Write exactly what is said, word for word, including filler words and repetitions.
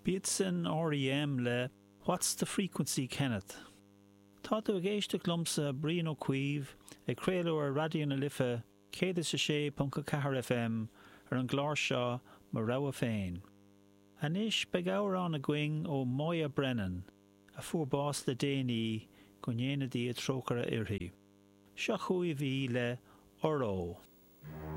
B'iad sin R.E.M. le What's the Frequency Kenneth? Tá tú ag éisteacht liomsa Brian Ó Cuív ag craoladh ar Raidió na Life céad is a sé ponc a ceathair FM ar an gclár seo mo rogha féin. Anois beidh amhrán againn ó Moya Brennan, a fuair bás le déanaí go ndéana Dia trócaire uirthi. Seo chugaibh í le Óró.